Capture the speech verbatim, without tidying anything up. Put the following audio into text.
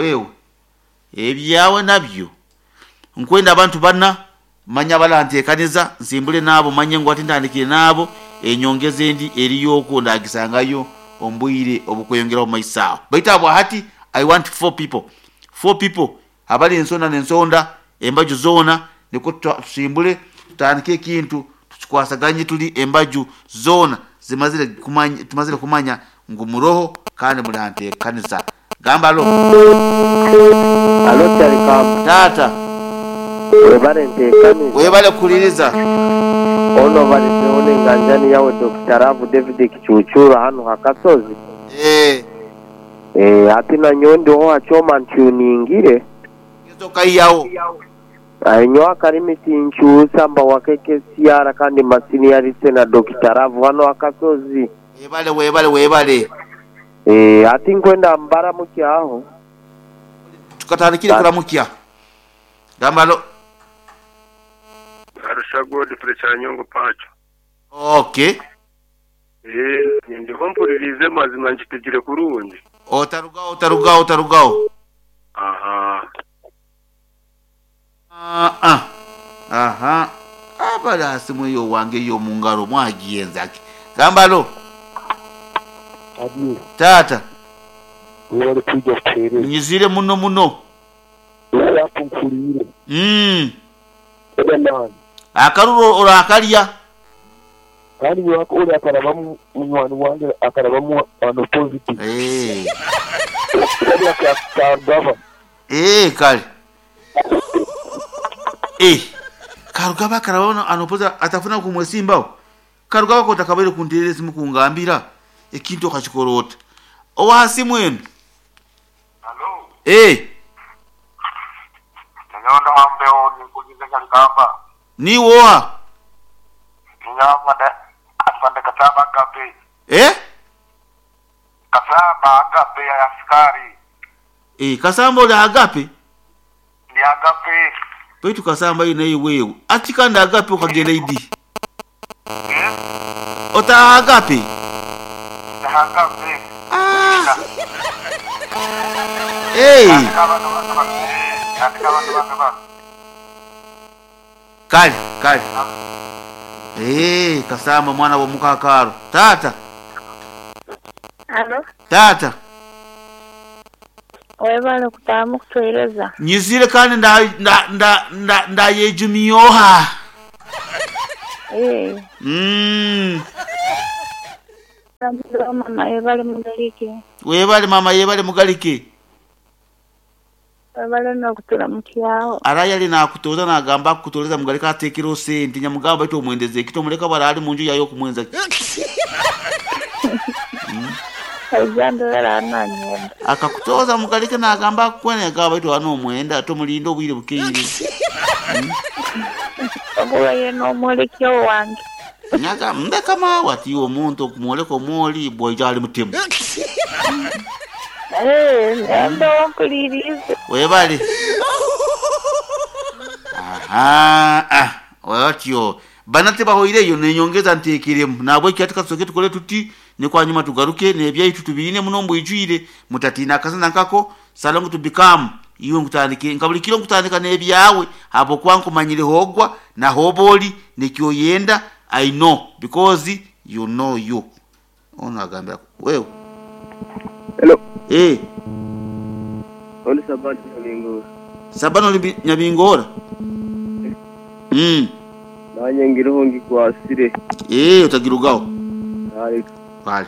Wewe ebyawe nabyo nkwenda abantu bana manya balanteekaniza nsimbule naabo manye ngu ati ntandikire naabo enyongeza endi eriyoko ndagisangayo ombwire obukweyongeraho mumaiso aho. Baitu abo hati I want four people, four people abali ensonda n'ensonda embaju zoona, nikwo tusimbule tutandike ekintu tukikwasaganye tuli embaju zoona zimazire kumanya, tumazire kumanya ngu muroho kandi mulanteekaniza. Gamba alo. Alo Kyarikamba. Tata. Webale nteekaniza. Webale kukuliriza. Ono baliseho n'enganjani yawe Doctor Ravu David Kichuchura hano hakasozi. Eh. Eh, ati nanyowe ndiho hakyoma ntuningire. Okaiyawo. Nyowe akarimi tinkyusa mba wakeke siara kandi masini yarise na Doctor Ravu hano hakasozi. Webale webale webale. Eh, ati nkwenda mbaramukya aho. Tukatandikire kuramukya. Gamba lo. Arusha Godfrey Kyanyongo Pacho. Okay. Eh, ndiho mpulirize mazima nkitegire kurungi. Otarugaho otarugaho otarugaho. Aha. Ah ah. Aha. Abala simu yo wange yo mungaro mwagiyenzaki. Gamba lo. Abi. Tata. Webale kwijja kuteereza. Nyizire muno muno. Yakunkulire. Mm. Eda. Akaruro orakalya. Kandi wako uri akarabamu munywani wange akarabamu ano positive. Eh. Kali akarugaba. Eh kale. Eh. Karugaba akarabona ano positive atafuna kumwesimbawo. Karugaba ko takabaire kuntereza mukungambira ekintu okakikorota. Owa simu enu. Hello. Eh. Nyonda ambeo nikugize Kyarikamba. Ni woa. Nyamande afande Kasamba Agape. Eh? Kasamba Agape ya askari. Eh, Kasamba oli Agape? Ni Agape. Baitu Kasamba ine wewe. Ati kandi Agape ukagenda idi. Eh? Ota Agape. Agape. Ah. Eh. Kali, kali. Eh, Kasamba mwana wa mukakaro. Tata. Alo. Tata. Webale kutamu kutwereza. Nyizire kandi nda nda nda nda, nda yejumiyoha. Eh. Mm. Mama yebale mugalike. Webale mama yebale mugalike. Webale nokuturamukyaho. Araya ali nakutoza nagamba kutoleza mugalika atekero sente nyamugamba ito omwendeze ekito muleka barali munju yayo kumwenza. Mm. Akakutoza mugalika nagamba kwene gaba ito ano omwenda tomulinda obwire bukeire. Mm. Obuye no mwolekyo wange. Nyaga ndeka mawa ati omuntu okumwoleka omwoli bwaija ali mutemu. Eh, ndo nkulirize. Webale. Aha, ah, watyo. Banate bahoireyo nenyongeza ntekiremu. Nabwe kyatuka tusoke tukole tuti ne kwa nyuma tugaruke nebyaitu tubirine muno mbwijwire mutatina akasana nkako salongo to become iwe nkutandike nkabulikiro nkutandika nebyawe abo kwankumanyire hogwa na hoboli nekyoyenda I know because you know you. Ono agambira wewe. Hello. Eh. Oli Sabano Nyabingora. Sabano Nyabingora. Mm. Nanye ngiruho ngikwasire. Eh utagirugaho. Kale. Kale.